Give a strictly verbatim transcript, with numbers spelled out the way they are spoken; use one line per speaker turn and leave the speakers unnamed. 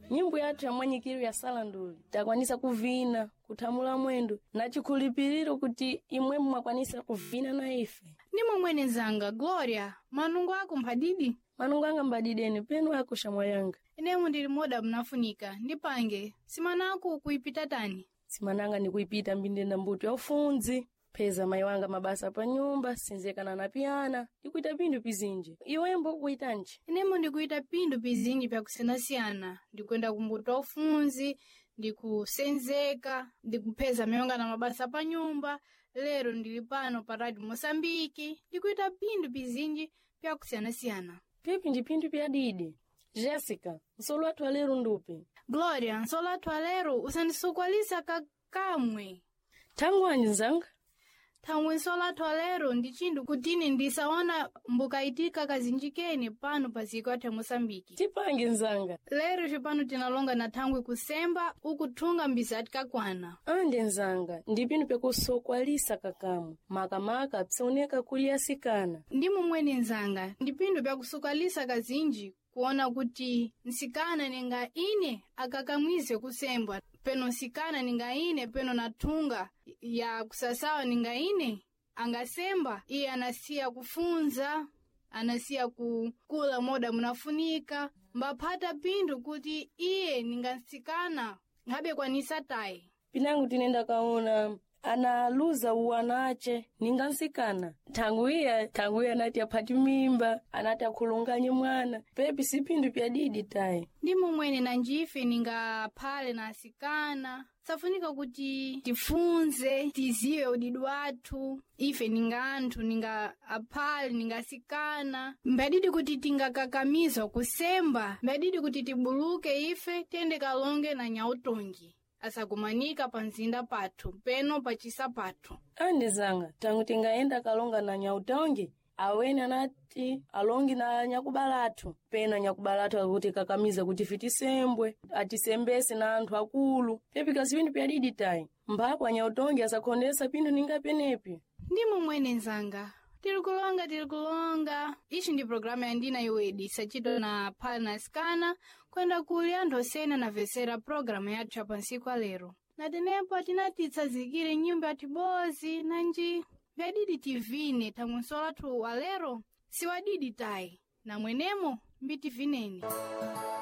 Nyimbo yathu ya mwanyikiro ya salanduli takwanisa kuvina, kuthamula mwendo na chikhulupiriro kuti imwe mwakwanisa kuvina na ife.
Ndimo mwene nzanga Gloria, manungo ako mphadidi?
Manungo anga mbadideni penu ako shamwa yanga.
Inemu ndili moda mnafunika, ndipange, simanako kuipita tani?
Simananga ndikuipita mbindenda mbuto ya ufunzi. Pheza mayi wanga mabasa pa nyumba, sinzekana na piyana, ndikuita pindu pizinji. Iwembo kuitanji?
Inemo ndikuita pindu pizinji pyakusiyanasiyana, ndikuyenda kumbuto wa ufunzi, ndikusenzeka, ndikupheza mayonga na mabasa pa nyumba, lero ndili pano pa Radio Moçambique, ndikuita pindu pizinji pyakusiyanasiyana.
Pipi ndi pindu pyadidi. Jessica, nsolo wathu walero ndupi.
Gloria, nsolo wathu walero usandisukwalisa kakamwe.
Thangwanji nzanga?
Thangwe nsolo athu alero ndi chinthu kutini ndisaona mbukaitika kazinji kene pano pa ziko athu ya Moçambique.
Tipange nzanga.
Lero cipano tinalonga na thangwe kusemba ukuthunga mbizati kakwana.
Ande nzanga, ndi pindu pyakusokwalisa kakamwe. Makamaka psioneka kuli asikana.
Ndimo mwene nzanga, ndi pindu pyakusukalisa kazinji kuona kuti nsikana ninga ine akakamwize kusembwa peno nsikana ninga ine peno nathunga ya kusasawa ninga ine angasemba iye anasiya kufunza anasiya kukula moda munafunika mbaphata pindu kuti iye ninga nsikana ngabe kwanisa tayi
Pinangu tinenda kaona analuza uwana ace ninga nsikana. Thangwiya, thangwiya anati aphati mimba, anati akhulunganye mwana. Pepi si pindu pyadidi tayi.
Ndimo mwene nanjife ningaphale na asikana safunika kuti tifunze tiziwe udidi wathu ife ninga anthu ninga aphale ninga asikana mbadidi kuti tingakakamizwa kusemba mbadidi kuti tibuluke ife tiyende kalonge na nyautongi asakumanika pa mzinda pathu peno pachisa pathu.
Ande zanga, tangu tingaenda kalonga na nyautongi, awene anati alongi na nyakubalathu. Pena nyakubalathu akuti kakamiza kuti fitisembwe, atisembese na anthu akulu. Pepi kasi pindu pyadidi tayi. Mphako anyautongi asakhondesa pindu ninga penepi.
Ndimo mwene nzanga tiri kulonga tiri kulonga ichi ndi programu ya ndina iwedi sachito na phale na asikana kwenda kuli anthu osena namvesera programu yathu ya pansiku alero na tenepo tinatitsazikire nyumba yathu nanji vyadidi tivine thangwe nsolo athu walero siwadidi tayi namwenemo mbitivineni.